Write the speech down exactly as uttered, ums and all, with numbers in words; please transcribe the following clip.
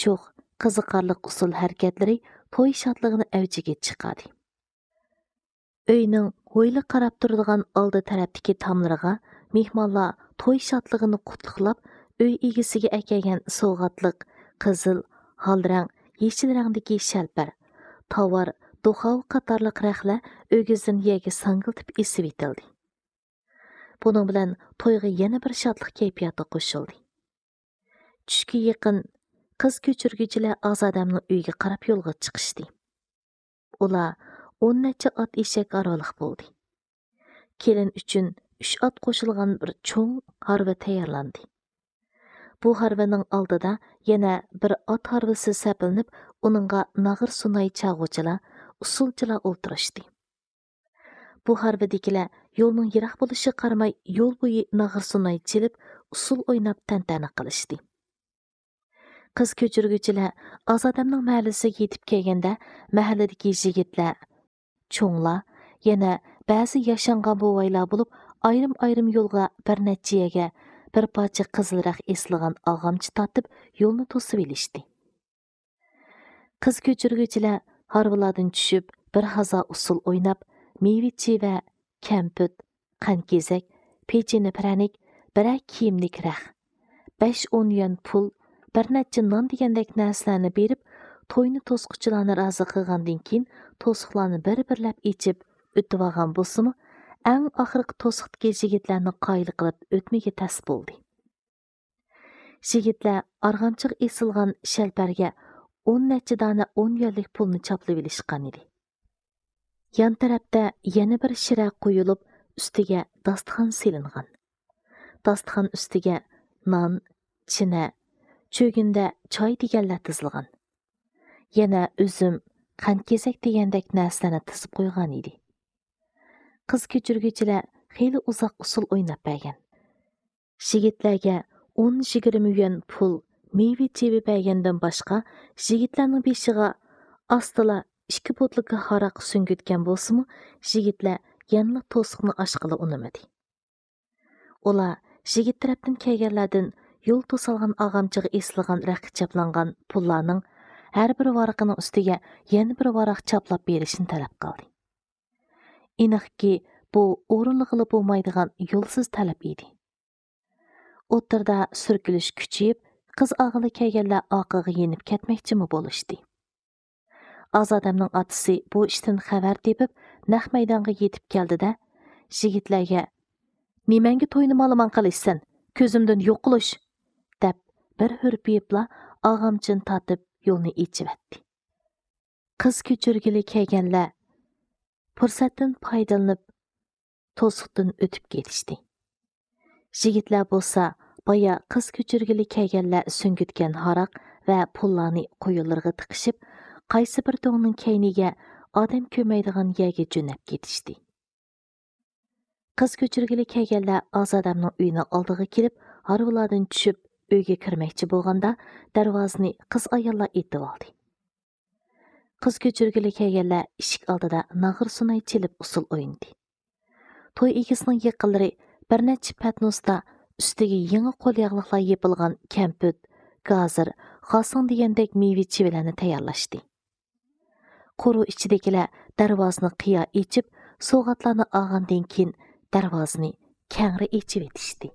شوخ، قىزىقارلىق ئۇسسۇل ھەرىكەتلىرى توي شادلىقىنى ئەۋجىگە چىقاردى. ئۆينىڭ ھويلا قاراپ تۇرىدىغان ئالدى تەرەپتىكى تاملىرىغا مېھمانلار توي شادلىقىنى قۇتلۇقلاپ، ئۆي ئىگىسىگە ئەكەلگەن سوۋغاتلىق قىزىل، ھال رەڭ، يېشىل رەڭدىكى شەلپەر، تاۋار، دوخاۋا قاتارلىق رەختلەر ئۆگزىدىن يەرگە ساڭگىلىتىپ ئېسىۋېتىلدى. بۇنىڭ بىلەن تويغا يەنە بىر شادلىق كەيپىياتى قوشۇلدى. چۈشكە يېقىن قىز كۆچۈرگۈچىلەر ئازادەمنىڭ ئۆيىگە قاراپ يولغا چىقىشتى. ئۇلار ئون نەچچە ئات ئېشەك ھارۋىلىق بولدى. كېلىن ئۈچۈن ئۈچ ئات قوشۇلغان بىر چوڭ ھارۋا تەييارلاندى. بۇ ھارۋىنىڭ ئالدىدا يەنە بىر ئات ھارۋىسى سەپلىنىپ، ئۇنىڭغا ناغرا سۇناي چالغۇچىلار، ئۇسسۇلچىلار ئولتۇرۇشتى. بۇ ھارۋىدىكىلەر يولنىڭ يىراق بولۇشىغا قارىماي، يول بويى ناغرا سۇناي چېلىپ، ئۇسسۇل ئويناپ تەنتەنە قىلىشتى. قىز كۆچۈرگۈچىلەر ئازادەمنىڭ مەھەللىسىگە يېتىپ كەلگەندە، مەھەللىدىكى يىگىتلەر، چوڭلار، يەنە بەزى ياشانغان بوۋايلار بولۇپ، ئايرىم-ئايرىم يولغا بىر نەچچە يەرگە بىر پارچە قىزىل رەخت ئېسىلغان ئاغامچا تارتىپ، يولنى توسۇۋېلىشتى. قىز كۆچۈرگۈچىلەر ھارۋىلاردىن چۈشۈپ، بىر ھازا ئۇسسۇل ئويناپ، مېۋە-چىۋە، كەمپۈت، قەنت-كېزەك، پېچىنە پىرەنىك، بىرەر كىيىملىك رەخت، بەش-ئون يۈەن پۇل، بىر نەچچە نان دېگەندەك نەرسىلەرنى بېرىپ، توينى توسقۇچىلارنى رازى قىلغاندىن كېيىن، توسۇقلارنى بىر-بىرلەپ ئېچىپ ئۆتۈۋالغان بولسىمۇ، ئەڭ ئاخىرقى توسۇقتىكى يىگىتلەرنى قايىل قىلىپ ئۆتمىگە تەس بولدى. يىگىتلەر ئارغامچىغا ئېسىلغان شەلپەرگە ئون نەچچە دانە ئون يۈەنلىك پۇلنى چاپلىۋېلىشقان ئىدى. يان تەرەپتە يەنە بىر شىرە قويۇلۇپ، ئۈستىگە داستىخان سېلىنغان. داستىخان ئۈستىگە نان، چىنە، چۆگۈندە چاي دېگەنلەر تىزىلغان. يەنە ئۈزۈم، قەنت-كېزەك دېگەندەك نەرسىلەرنى تىزىپ قويغان ئىدى. قىز كۆچۈرگۈچىلەر خېلى ئۇزاق ئۇسسۇل ئويناپ بەرگەن. يىگىتلەرگە ئون-يىگىرمە يۈەن پۇل، مېۋە-چېۋە بەرگەندىن باشقا، يىگىتلەرنىڭ بېشىغا ئاستىلا ئىككى بوتۇلكا ھاراق سۈڭگۈتكەن بولسىمۇ، يىگىتلەر يەنىلا توسۇقنى ئاچقىلى ئۇنىمىدى. ئۇلار يىگىت تەرەپتىن كەلگەنلەردىن يول توسالغان ئاغامچىغا ئېسىلغان رەختكە چاپلانغان پۇللارنىڭ ھەر بىر ۋارىقىنىڭ ئۈستىگە يەنە بىر ۋاراق چاپلاپ بېرىشنى تەلەپ قىلدى. ئېنىقكى، بۇ ئورۇنلىغىلى بولمايدىغان يولسىز تەلەپ ئىدى. ئوتتۇرىدا سۈركىلىش كۈچىيىپ، قىز ئالغىلى كەلگەنلەر ئارقىغا يېنىپ كەتمەكچىمۇ بولۇشتى. ئازادەمنىڭ ئاتىسى بۇ ئىشتىن خەۋەر تېپىپ، نەق مەيدانغا يېتىپ كەلدى-دە، يىگىتلەرگە، «نېمەڭگە توينى مالىمان قىلىشسەن؟ كۆزۈمدىن يوقىلىش!» دەپ، بىر ھۈرپىيىپلا ئاغامچىنى تارتىپ، يولنى ئېچىۋەتتى. قىز كۆچۈرگىلى كەلگەنلەر پۇرسەتتىن پايدىلىنىپ، توسۇقتىن ئۆتۈپ كېتىشتى. يىگىتلەر بولسا بايا قىز كۆچۈرگىلى كەلگەنلەر سۈڭگۈتكەن ھاراق ۋە پۇللارنى قويۇنلىرىغا تىقىشىپ، قايسى بىر دۆڭنىڭ كەينىگە، ئادەم كۆرمەيدىغان يەرگە جۆنەپ كېتىشتى. قىز كۆچۈرگىلى كەلگەنلەر ئازادەمنىڭ ئۆيىنىڭ ئالدىغا كېلىپ، ھارۋىلاردىن چۈشۈپ، ئۆيگە كىرمەكچى بولغاندا، دەرۋازىنى قىز-ئاياللار ئېتىۋالدى. قىز كۆچۈرگىلى كەلگەنلەر ئىشىك ئالدىدا ناغرا سۇناي چېلىپ ئۇسسۇل ئوينىدى. توي ئىگىسىنىڭ يېقىنلىرى بىر نەچچە پەتنۇستا ئۈستىگە يېڭى قول ياغلىقلار يېپىلغان كەمپۈت، گازىر، خاسىڭ دېگەندەك مېۋە-چېۋىلەرنى تەييارلاشتى. قورۇ ئىچىدىكىلەر دەرۋازىنى قىيا ئېچىپ، سوۋغاتلارنى ئالغاندىن كېيىن، دەرۋازىنى كەڭرى ئېچىۋېتىشتى.